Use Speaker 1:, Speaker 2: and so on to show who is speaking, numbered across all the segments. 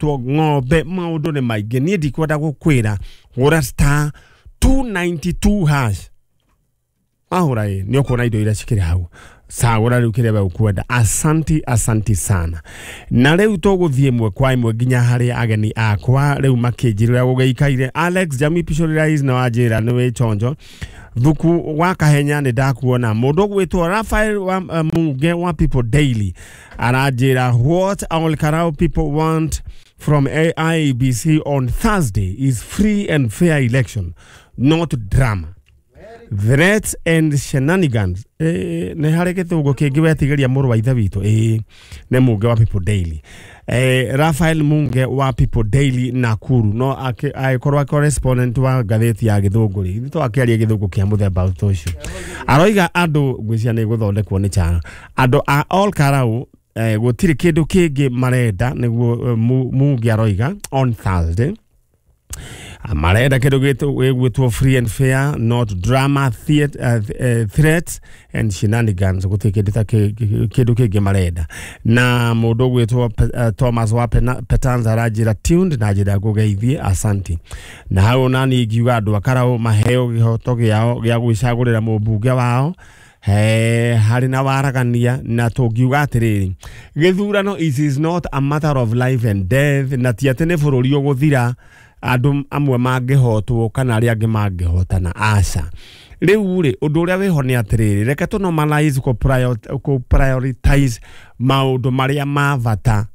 Speaker 1: Ng'ombe maũndũ nĩ maingĩ, niĩ ndikwenda gũkwĩra. Hũra *292# ahũra ĩ nĩ ũkuona indo iria cikĩrĩ hau, cagũra rĩu kĩrĩa we ũkwenda. Asanti, asanti sana. Na rĩu tũgũthiĩ ĩmwe kwa ĩmwe nginya harĩ ageni akwa rĩu makĩnjĩra ũrĩa gũgĩikaire. Alex Jami Pishorirais na wanjĩra nĩ wĩ chonjo thuku wa kahenya, nĩ ndakuona. Mũndũ ũgwĩtwo Rafael wa Munge wa People Daily aranjĩra, "What Ol Kalou people want from IEBC on Thursday is free and fair election, not drama, threats and shenanigans." Nĩ harĩ gĩthũngũ kĩngĩ wetigĩria mũrũ wa ithe witũ. Nĩ Munge wa People Daily, Rafael Munge wa People Daily Nakuru, no agĩkorwo correspondent wa ngathĩti ya gĩthũngũ rĩ, ithuĩ twakĩaria gĩthũngũ kĩa mũthemba ta ũcio. Aroiga andũ ngwĩciria nĩ gũthondekwo nĩ chara andũ a Ol Kalou, gũtirĩ kĩndũ kĩngĩ marenda nĩguo Munge aroiga on Thursday marenda kĩndũ gĩgwĩtwo free and fair, not drama, threats and shenanigans. Gũtirĩ kĩndũ ta kĩndũ kĩngĩ marenda. Na mũndũ ũgwĩtwo Thomas wa Petanza aranjĩra tuned na njĩra ngũgeithie, asanti. Na hau nani ingiuga andũ a Karau maheo kĩhoto gĩao gĩa gwĩcagũrĩra mũmbunge wao he harĩ na waragania, na tũngiuga atĩrĩrĩ, gĩthurano it is not a matter of life and death, na ti atĩ nĩ bũrũri ũgũthira andũ amwe mangĩhotwo kana arĩa angĩ mangĩhotana, aca. Rĩu rĩ, ũndũ ũrĩa wĩho nĩ atĩrĩrĩ, reke tũ normalize kũ prioritize maũndũ marĩa ma bata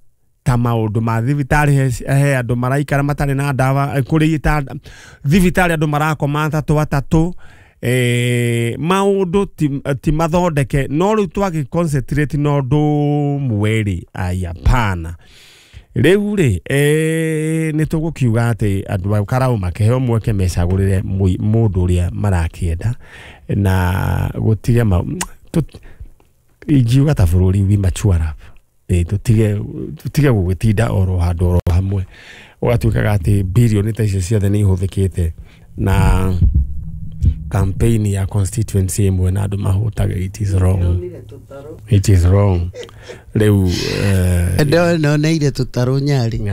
Speaker 1: ta maũndũ ma thibitarĩ. He andũ maraikara matarĩ na ndawa, kũrĩ ta thibitarĩ andũ marakoma atatũ atatũ, maũndũ ti mathondeke, no rĩu twagĩ concentrate na ũndũ ũmwe rĩ, ai hapana. Rĩu rĩ, nĩ tũgũkiuga atĩ andũ a Karau makĩheo mweke mecagũrĩre mũndũ ũrĩa marakĩenda na gũtige ingiuga ta bũrũri we mature up. Tũtige gũgĩtinda oro handũ oro hamwe, ũgatuĩkaga atĩ birioni ta icio ciothe nĩ ihũthĩkĩte na campaign ya constituency ĩmwe na andũ mahũtage. It is wrong, it is wrong. Rĩu
Speaker 2: Noneire tũtarũ Nyarĩ.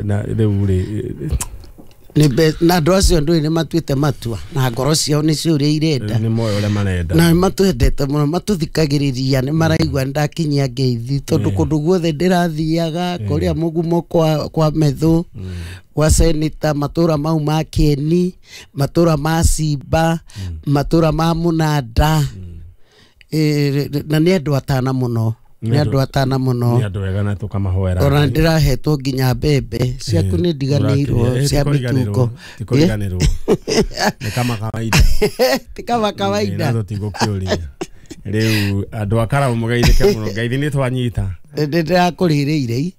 Speaker 1: Na rĩu rĩ,
Speaker 2: Na andũ acio ndũĩ nĩ matuĩte matua na ngoro ciao nĩcio ũrĩa irenda.
Speaker 1: Nĩ moĩ ũrĩa marenda.
Speaker 2: Na nĩ matwendete mũno, matũthikagĩrĩria, nĩ maraigua nĩ ndakinyia ngeithi tondũ kũndũ guothe ndĩrathiaga kũrĩa mũgumo kwa methũ gwa seneta, matũra mau ma Kĩeni, matũra ma Simba, matũra ma Mũnanda. Na nĩ andũ atana mũno, nĩ andũ atana mũno.
Speaker 1: Nĩ andũ ega na tũkamahoera.
Speaker 2: Ona ndĩrahetwo nginya mbembe ciaku, nĩ ndiganĩirwo cia mĩtungo.
Speaker 1: Tikũriganĩrwo, nĩ kama kawaida.
Speaker 2: Ti kama kawaida.
Speaker 1: Na tũtigũkĩũria. Rĩu andũ a Karau mũgeithĩke mũno, ngeithi nĩ twanyita.
Speaker 2: Ndĩrakũrĩrĩire.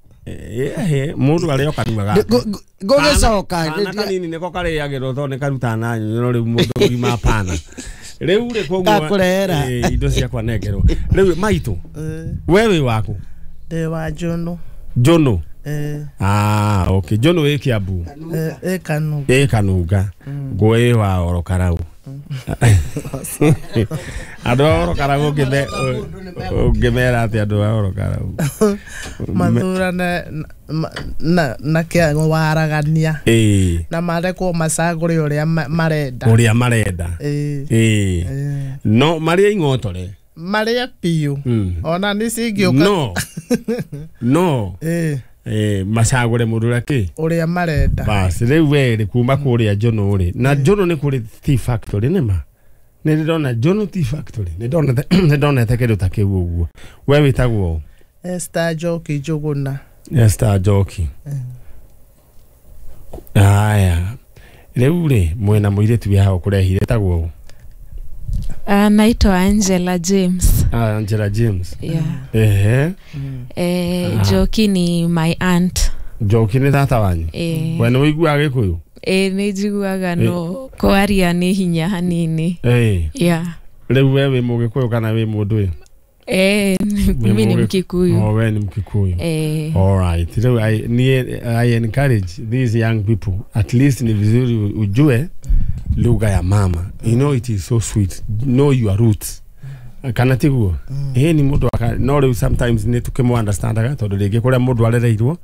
Speaker 1: Mũndũ arĩa kanua gake.
Speaker 2: Ngũgĩcoka.
Speaker 1: Kana kanini nĩko karĩagĩrwo tondũ nĩ karuta na nyonyo. Rĩu mũndũ mũgima apana. Rĩu rĩ, koguo
Speaker 2: Gakũrehera.
Speaker 1: Indo ciakwa nengerwo rĩu maitũ. We wĩ waku?
Speaker 3: Ndĩ wa Njũnũ.
Speaker 1: Njũnũ?
Speaker 3: Eh.
Speaker 1: Ah, okay, Njũnũ wĩ Kiambu?
Speaker 3: Ĩ Kanunga.
Speaker 1: Ĩ Kanunga. Ngũĩ wa Oro Karau, andũ a Oro Karau ũngĩmera atĩ andũ a Oro Karau
Speaker 3: Mathurane na kĩa waragania na marekwo macagũre ũrĩa marenda.
Speaker 1: Ũrĩa marenda.
Speaker 3: Ĩĩ.
Speaker 1: No marĩa ing'otore.
Speaker 3: Marĩe biũ. Ona nĩ cingĩũka.
Speaker 1: No macagũre mũndũ ũrĩa kĩ
Speaker 3: ũrĩa marenda.
Speaker 1: Bas, rĩu we rĩ, kuma kũrĩa Njũnũ rĩ, na Njũnũ nĩ kũrĩ tea factory? Nĩ ma nĩ ndĩrona Njũnũ tea factory, nĩ ndonete kĩndũ ta kĩu ũguo. We wĩtagwo ũ?
Speaker 3: Esther Njoki Njũgũna.
Speaker 1: Esther Njoki. Aya, rĩu rĩ, mwena mũirĩtu wĩ haha ũkũrehire ĩtagwo ũ?
Speaker 4: Naitwa Angela James.
Speaker 1: Ah, Angela James.
Speaker 4: Yeah.
Speaker 1: Ehe.
Speaker 4: Njoki ni my aunt.
Speaker 1: Njoki nĩ tata wanyu? We nĩ ũiguaga Gĩkũyũ?
Speaker 4: Nĩ njiguaga, no kwaria nĩ hinya hanini. Yeah.
Speaker 1: Rĩu we wĩ Mũgĩkũyũ kana wĩ mũndũ ũyũ?
Speaker 4: Mimi ni Mkikuyu.
Speaker 1: Oh, we ni Mkikuyu.
Speaker 4: Eh.
Speaker 1: All right. Rĩu I encourage these young people, at least ni vizuri ujue lugha ya mama. You know it is so sweet. Know your roots. Kana tiguo? Ĩĩ ni mũndũ aka no rĩu sometimes nĩ tũkĩmũ understandaga tondũ rĩngĩ kũrĩa mũndũ arereirwo.